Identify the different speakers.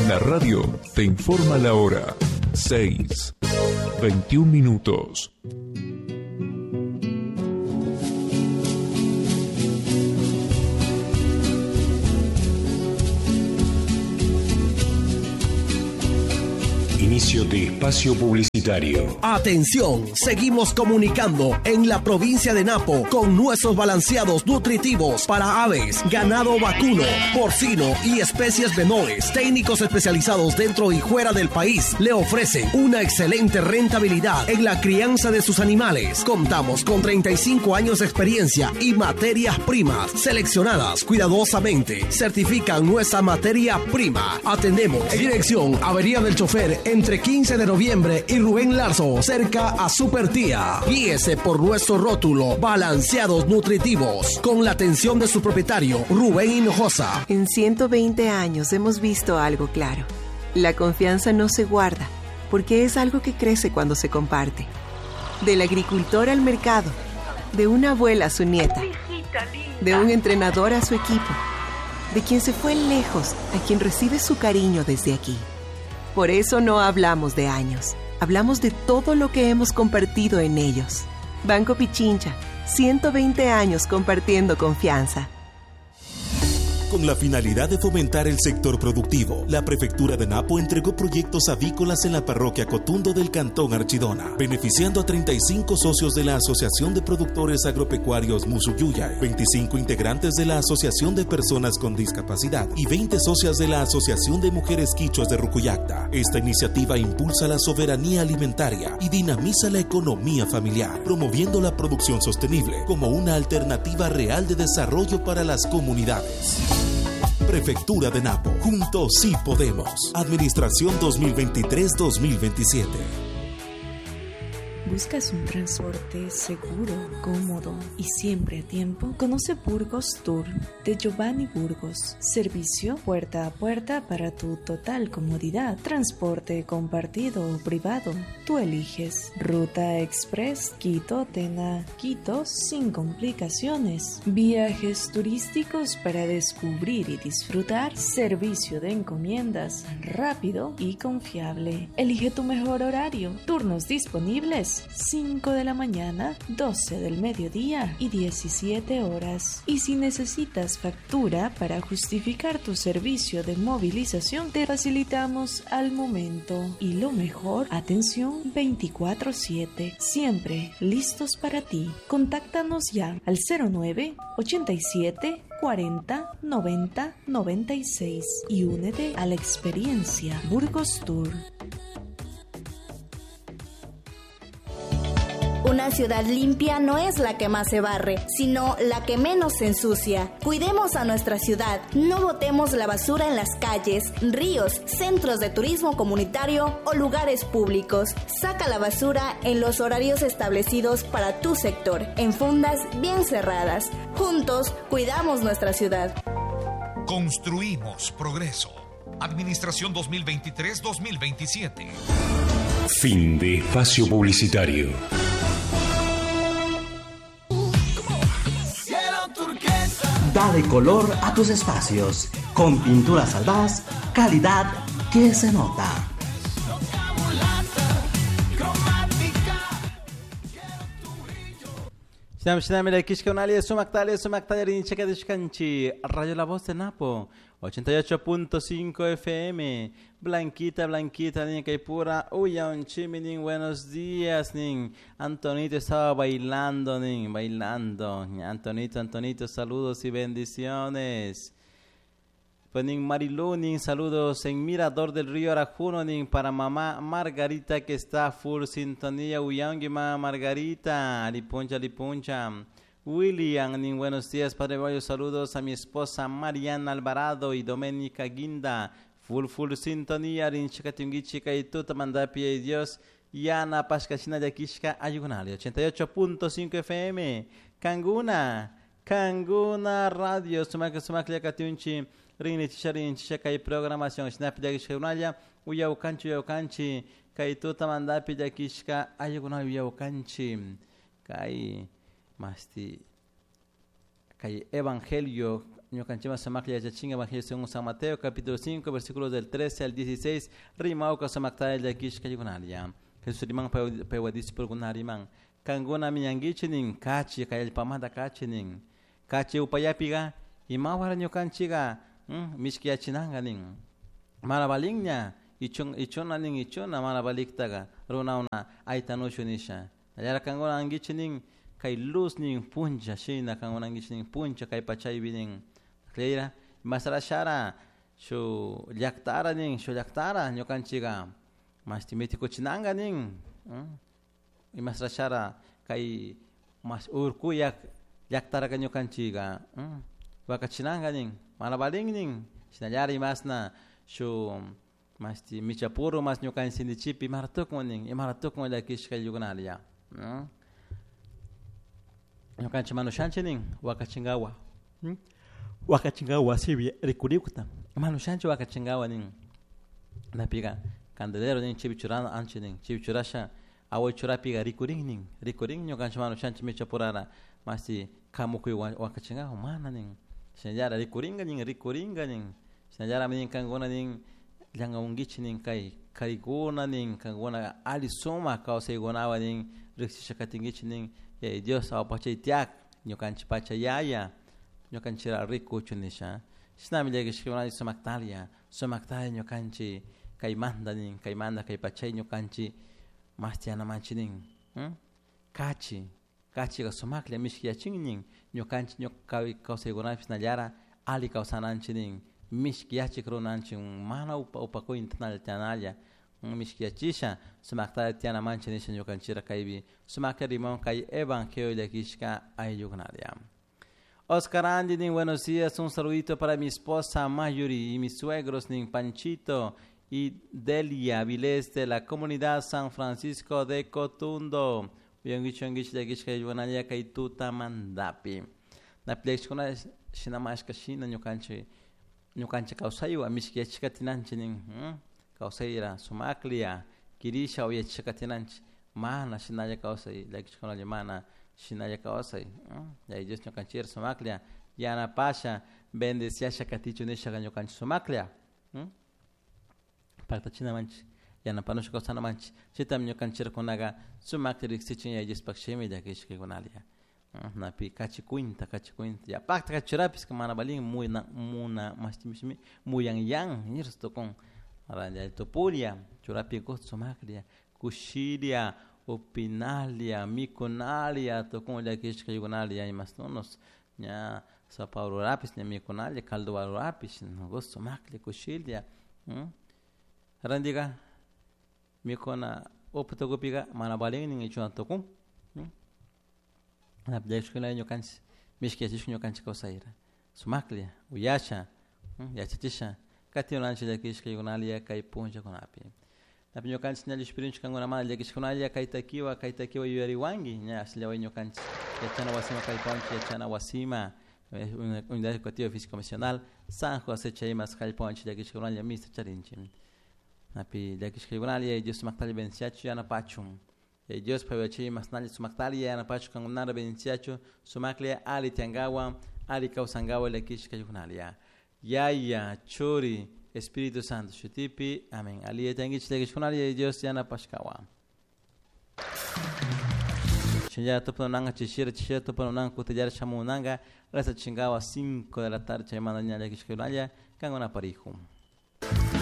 Speaker 1: La radio te informa la hora. 6, 21 minutos.
Speaker 2: Inicio de espacio publicitario.
Speaker 3: Atención, seguimos comunicando en la provincia de Napo con nuestros balanceados nutritivos para aves, ganado vacuno, porcino y especies menores. Técnicos especializados dentro y fuera del país le ofrecen una excelente rentabilidad en la crianza de sus animales. Contamos con 35 años de experiencia y materias primas seleccionadas cuidadosamente. Certifican nuestra materia prima. Atendemos en dirección Avería del Chofer entre 15 de noviembre y Rubén Larzo, cerca a Super Tía. Guíese por nuestro rótulo Balanceados Nutritivos, con la atención de su propietario, Rubén Hinojosa.
Speaker 4: En 120 años hemos visto algo claro. La confianza no se guarda, porque es algo que crece cuando se comparte. Del agricultor al mercado, de una abuela a su nieta, de un entrenador a su equipo, de quien se fue lejos a quien recibe su cariño desde aquí. Por eso no hablamos de años, hablamos de todo lo que hemos compartido en ellos. Banco Pichincha, 120 años compartiendo confianza.
Speaker 5: Con la finalidad de fomentar el sector productivo, la Prefectura de Napo entregó proyectos avícolas en la parroquia Cotundo del Cantón Archidona, beneficiando a 35 socios de la Asociación de Productores Agropecuarios Musuyuyay, 25 integrantes de la Asociación de Personas con Discapacidad y 20 socias de la Asociación de Mujeres Quichuas de Rucuyacta. Esta iniciativa impulsa la soberanía alimentaria y dinamiza la economía familiar, promoviendo la producción sostenible como una alternativa real de desarrollo para las comunidades. Prefectura de Napo. Juntos sí podemos. Administración 2023-2027.
Speaker 6: ¿Buscas un transporte seguro, cómodo y siempre a tiempo? Conoce Burgos Tour de Giovanni Burgos. Servicio puerta a puerta para tu total comodidad. Transporte compartido o privado. Tú eliges. Ruta Express Quito, Tena, Quito sin complicaciones. Viajes turísticos para descubrir y disfrutar. Servicio de encomiendas rápido y confiable. Elige tu mejor horario. Turnos disponibles 5 de la mañana, 12 del mediodía y 17 horas. Y si necesitas factura para justificar tu servicio de movilización, te facilitamos al momento. Y lo mejor, atención 24/7, siempre listos para ti. Contáctanos ya al 09 87 40 90 96 y únete a la experiencia Burgos Tour.
Speaker 7: Una ciudad limpia no es la que más se barre, sino la que menos se ensucia. Cuidemos a nuestra ciudad, no botemos la basura en las calles, ríos, centros de turismo comunitario o lugares públicos. Saca la basura en los horarios establecidos para tu sector, en fundas bien cerradas. Juntos, cuidamos nuestra ciudad.
Speaker 8: Construimos progreso. Administración 2023-2027.
Speaker 2: Fin de espacio publicitario.
Speaker 9: Dale color a tus espacios. Con Pinturas Albaz, calidad que se nota.
Speaker 10: Radio La Voz de Napo, 88.5 FM. Blanquita, Blanquita, niña Caipura, Uyan Chiminin, buenos días, nin. Antonito estaba bailando, nin, bailando. Antonito, Antonito, saludos y bendiciones. Pues nin Marilu, nin, saludos en Mirador del Río Arajuno, nin, para mamá Margarita que está full sintonía, Uyangi, mamá Margarita, alipuncha, alipuncha. William, nin, buenos días, Padre Bayo, saludos a mi esposa Mariana Alvarado y Doménica Guinda. Full, full sintonía, rinchika tingichika y tuta mandapi y Dios. Yana Pashkashina Yakishka Ayugunali, 88.5 FM, Kanguna, Kanguna Radio, Sumak Sumak Yakatunchi, Rini Chisha Rini Chisha Kai programación, Shinapi Yakishka Unaya, Uyaukanchi Uyaukanchi, Kai tuta mandapi Yakishka Ayugunali Uyaukanchi, Kai Masti, Kai Evangelio. Ñukanchima sumaklla yachachinga Evangelio según San Mateo capítulo 5 versículos del 13 al 16 rimauka sumaktalla llakishka yukunalla. Jesús riman paywa discípulo riman kankuna miñankichik nin kachi kay allpamanta kachi nin kachi upayapiqa imawara ñukanchikqa mishkiyachinanqa nin mana valinña ichuna nin ichuna mana valiktaqa runawna aytanushu nisha nallara kankuna ankichik nin kay luz nin puncha shina kankuna ankichik nin puncha kay pachaypi nin Cleira masarashara shu llaqtara nin shu llaqtara ñukanchikqa mashti mitikuchinanqa nin imasrashara kay mas urkuyak llaqtaraqa ñukanchikqa wakachinanqa nin mana valin nin shinallara imasna shu mashti michapuru mas ñukanchik imara tukun nin imara tukun llakishka ayllukunalla ñukanchik manushanchik nin wakachinkawa wakachinkawa wasipi rikurikta manushanchik wakachinkawa nin napiqa candelero nin chaypi churana anchik nin chaypi churasha away churapiqa rikurin nin rikurin ñukanchik manushanchik michapurara mashti kamukuy wakachinkawa mana nin shinallara rikurinka nin rikurinka nin shinallara nin kankuna nin llankamunkichik nin kay karikuna nin kankuna alli sumak kawsaykunawan nin riksisha katinkichik nin yaya Dios awpachay tiyak ñukanchik pacha yaya ñukanchikra rikuchu nisha shinami llakishkuna sumaktalla sumaktalla ñukanchik kaymanta nin kaymanta kay pachay ñukanchik mashti yanamanchik nin kachi kachiqa sumaklla mishkiyachin nin ñukanchik kawsaykunapish shinallara alli kawsananchik nin mishkiyachik runanchik mana upakuyta tiyanalla mishkiyachisha sumaktalla tiyanamanchik nisha ñukanchikra kaypi sumaklla rimon kay evangelio llakishka ayllukunalla. Oscar Andy nin buenos días, un saludito para mi esposa Mayuri y mis suegros nin Panchito y Delia Vilés de la comunidad San Francisco de Cotundo. Uyankichik llakishka ayllukunalla kay tutamantapi. Napi shinamashka shina ñukanchik ñukanchik kawsaywan mishkiyachishka katinanchik nin kawsayra sumaklla kirisha uyachishka katinanchik mana shinalla kawsay llakishkunalla mana shinalla kawsay yaya Dios ñukanchikra sumaklla yanapasha bendeciasha katichu nishaka ñukanchik sumaklla paktachinamanchik yanapanusha kawsanamanchik chaytami ñukanchikkunaqa sumakta riksichin yaya Diospaq shimi llakishkakunalla napi kachi cuenta ya pakta kachurapis mana valin muna muna mashti muyanyan nirus tukun raya tupuria churapi gusto sumaklla kushiria upinalia mikunalia tukun llakishka yukunalia imastunos ña sopa rurapis ña mikunalia caldo rurapis gusto sumaklla kushilia randiqa mikuna upa tukupiqa mana valin nin ichuna tukun llakishkuna ñukanchik mishkiyachishka ñukanchik kawsayra sumaklla uyasha yachachisha katinanchik llakishka yukunalia kay punllakunapi napi ñukanchik ña llushpirinchik kankunamanta llakishkunalla kay takiwa yuyariwanki ña ashllaway ñukanchik yachana wasima kallpawanchik yachana wasima Unidad Educativa Físico Nacional San José chaymas kallpawanchik llakishkunalla misa charinchik napi llakishka yukunalla Dios sumaktalla bendiciachu yanapachun Yaya Dios paywachiy masnalla sumaktalla yanapachu kankunara bendiciachu sumaklla alli tiyankawan alli kawsankawan llakishka yukunalla Yaya Churi Espíritu Santo shutipi amén. Alli yachankichik llakishkunalla Yaya Dios yanapashkawan. Shinallara tupunanka chishira chishira tupunanka kutillara shamunanka reza chinkawa 5 de la tarde chaymanta ña llakishkakunalla kankuna parihu.